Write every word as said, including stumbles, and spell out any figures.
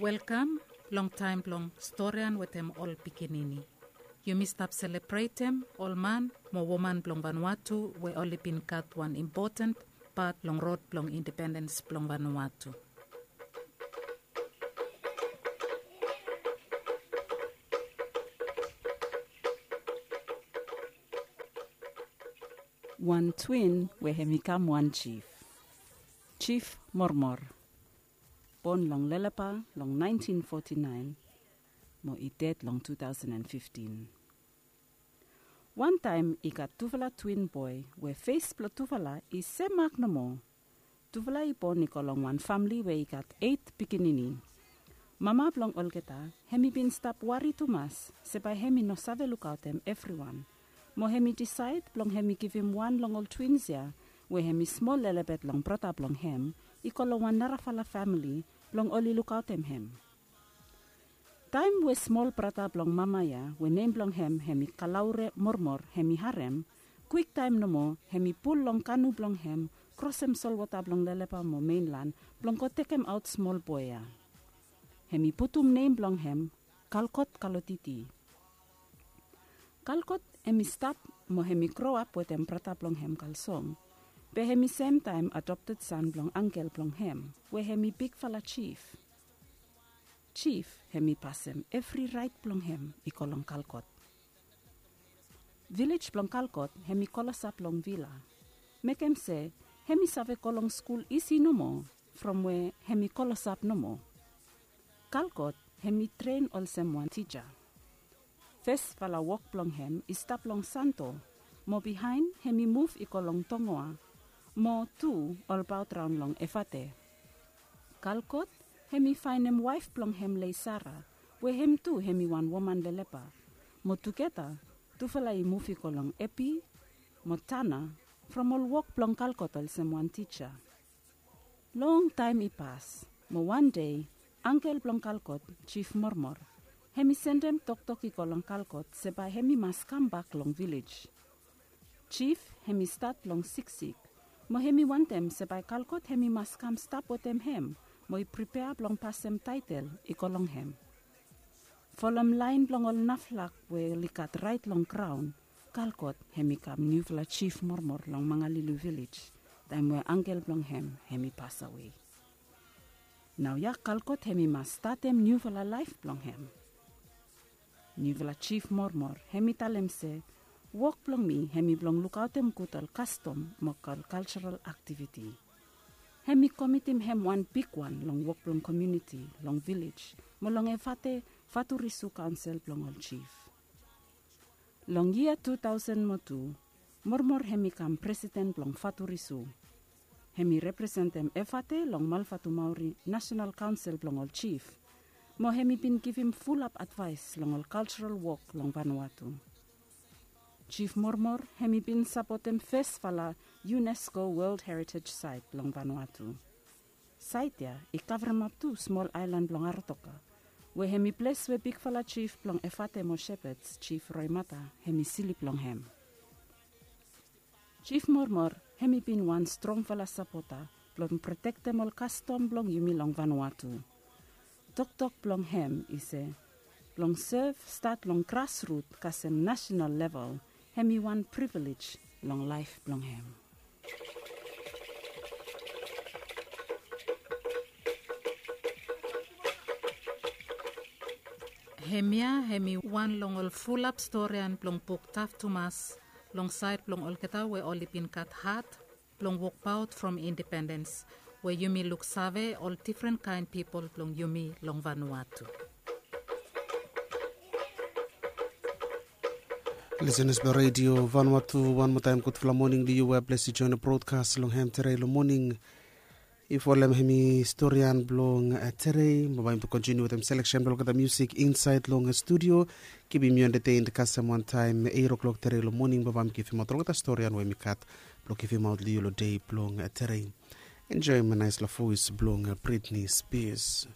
Welkam long taem blong storian wetem ol pikinini. Yumi stap selebretem ol man mo woman blong Vanuatu we oli bin gat wan impoten pat long rod blong independens blong Vanuatu. Wan twin we hem i kam wan jif. Jif Mormor. Bon long Lelepa long naentin foti naen mo i ded long tu taosen an fiftin. Wantaem i gat tufala twin boe we fes blong tufala i semak nomo. Tufala i bon i go long wan famle we i gat eit pikinini. Mama blong olgeta hem i bin stap wari tumas se bae hem i no save lukaotem evriwan. Mo hem i disaed blong hem i givim wan long ol twins ya we hem i smol lelebet long brata blong hem i go long wan narafala famle blong oli lukaotem hem. Taem we smol brata blong mama ya we nem blong hem hem i Kalaure Mormor hem i harem, kwiktaem nomo hem i pul long kanu blong hem krosem solwota blong Lelepa mo Menlan blong go tekemaot smol boe ya. Hem i putum nem blong hem Kalkot Kalotiti. Kalkot hem i stap mo hem i groap wetem brata blong hem Kalsong. Be hem i semtaem adopted san blong angkel blong hem we hem i bigfala jif. Jif hem i pasem evri raet blong hem i go long Kalkot. Vilej blong Kalkot hem i klosap long vila. Mekem se hem i save go long skul isi nomo from we hem i klosap nomo. Kalkot hem i tren olsem wan tija. Fesfala wok blong hem i stap long Santo, mo bihaen hem i muv i go long Tongoa, mo tu olbaot raon long Efate. Kalkot hem i faenem waef blong hem Leisara, we hem tu hem i wan woman Lelepa, mo tugeta tufala i muv i go long Epi mo Tana from ol wok blong Kalkot olsem wan tija. Longtaem i pas, mo wan dei angkel blong Kalkot, Jif Mormor, hem i sendem toktok i go long Kalkot se bae hem i mas kambak long vilej. Jif hem i stat long siksik, mo hem i wantem se bae Kalkot hem i mas kam stap wetem hem mo i pripea blong pasem taetel i go long hem. Folem laen blong ol naflak we oli gat raet long graon, Kalkot hem i kam niufala jif Mormor long Mangalili vilej taem we angkel blong hem hem i pasawe. Naoia Kalkot hem i mas statem niufala laef blong hem. Niufala jif Mormor hem i talem se wok blong mi hem i blong lukaotem gud ol kastom mo ol kaljaral aktiviti. Hem i komitim hem wan bigwan long wok blong komuniti long vilej mo long Efate Faturisu Kaonsel blong ol Jif. Long yia tu taosen mo tu, Mormor hem i kam presiden blong Faturisu. Hem i representem Efate long Malfatumauri Nasenal Kaonsel blong ol Jif, mo hem i bin givim fulap advaes long ol kaljaral wok long Vanuatu. Jif Mormor hem i bin sapotem fesfala UNESCO World Heritage Site long Vanuatu. Saet ya i kavremap tu smol aelan blong Aratoka, we hem i ples we bigfala jif blong Efate mo Shepherds, Jif Roemata, hem i slip long hem. Jif Mormor hem i bin wan strongfala sapota blong protektem ol kastom blong yumi long Vanuatu. Toktok blong hem i se blong sev stat long grasrut kasem nasenal level hem i wan privilej long laef blong hem. Hemia hem i wan long ol fulap storian blong buk Taf Tumas long saed blong olgeta we oli bin gat hat blong wokbaot from independens we yumi luksave ol difren kaen pipol blong yumi long Vanuatu. Lisenas blong Redio Vanuatu, wan moa taem gudfala moning long yu we blesi joen brodkas long hem tere long moning. If ol hem hem i storian blong tere, bae mi kontiniu wetem seleksen blong olgeta musik insaed long studio. Kipim yu entetened kasem wantaem eite klok tere long moning bae mi givimaot olgeta storian we mi gat blong givimaot long yu long dei blong tere. Enjoem naesfala voes blong Britney Spears.